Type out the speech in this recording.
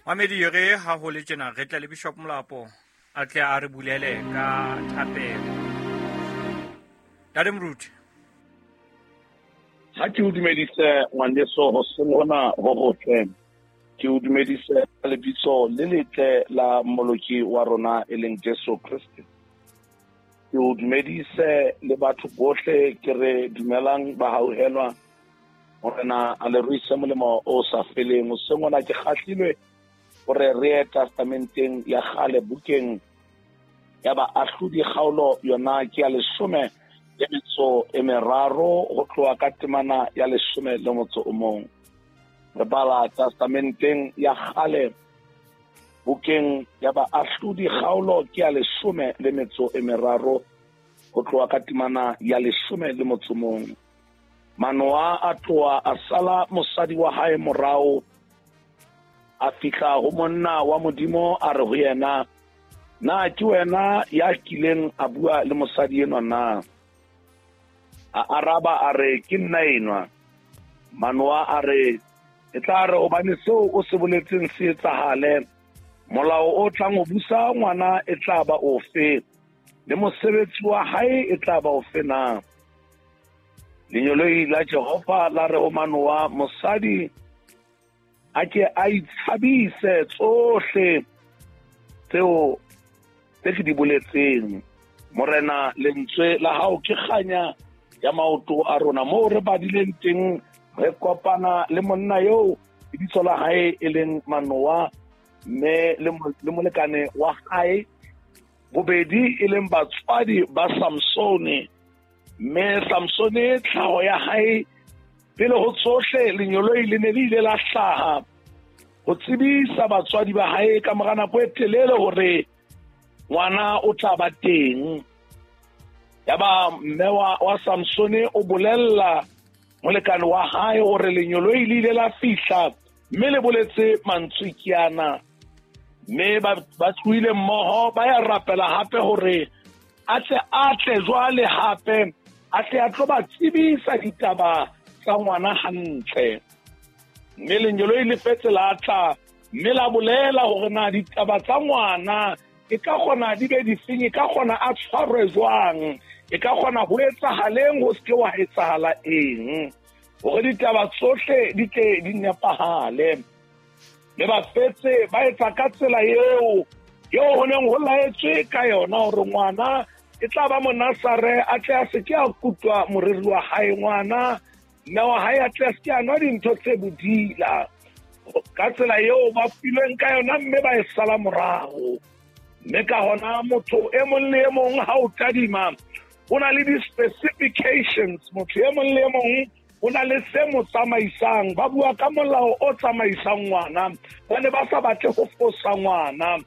Mamedi re ha ho le tjena re tle le Bishop Molapo a tle a re bulele ka thapelo. Ntate Moruti. Ha ke o dumedise ngwaneso hoseng hona ho hotle. Ke o dumedise ka lebitso le letle la Mmoloki wa rona e leng Jesu Kreste. Ke o dumedise le batho bohle ke re dumelang ba hauhelwa. Morena a le ruise molemo o sa feleng. Hoseng hona ke kgahlilwe hore re ye testamenteng ya kgale bukeng ya baahlodi kgaolo yona ke ya 13 ho tloha ka temana ya 11. Re bala testamenteng ya kgale bukeng ya baahlodi kgaolo ke ya 13 ho tloha ka temana ya 11. Manoa a tloha a sala mosadi wa hae morao, a fihla ho monna wa Modimo a re ho yena, na ke wena ya kileng a bua le mosadi enwa na? A araba a re, ke nna enwa. Manoa a re, e tla re hobane seo o se boletseng se etsahale, molao o tlang ho busa ngwana e tla ba ofe, le mosebetsi wa hae e tla ba ofe na? Lengeloi la Jehova la re ho Manoa, mosadi a ke a itshabise tsohle tseo tse ke di boletseng. Morena, lentswe la hao ke kganya ya maoto a rona. Moo re badileng teng re kopana le monna eo lebitso la hae e leng Manoa, mme le molekane wa hae bobedi e leng batswadi ba Samsone. Mme Samsone tlhaho ya hae pele ho tsohle lenyoloi le ne le ile la hlaha ho tsebisa batswadi ba hae ka mora nako e telele hore ngwana o tla ba teng. Yaba mme wa Samsone o bolella molekane wa hae hore lenyoloi le ile la fihla mme le boletse mantswe ke ana. Mme ba tlohile mmoho ba ya rapela hape hore a tle jwale hape a tle a tlo ba tsebisa ditaba tsa ngwana hantle. Mme lengeloi le fetse la tla mme la bolela hore na ditaba tsa ngwana e ka kgona di be difeng, e ka kgona a tshwarwe jwang, e ka kgona ho etsahaleng, ho seke wa etsahala eng, hore ditaba tsohle di tle di nepahale. Mme ba fetse ba etsa ka tsela eo eo ho neng ho laetswe ka yona hore ngwana e tla ba monasare, a tle a se ke a kutwa moriri wa hae, ngwana mme wa hae a tle a se ke a nwa dintho tse bodila. Ka tsela eo ba filweng ka yona mme ba e sala morao. Mme ka hona motho e mong le e mong ha o tadima o na le di-specifications, motho e mong le e mong o na le se mo tsamaisang. Ba bua ka molao o tsamaisang ngwana, ba ne ba sa batle ho fosa ngwana.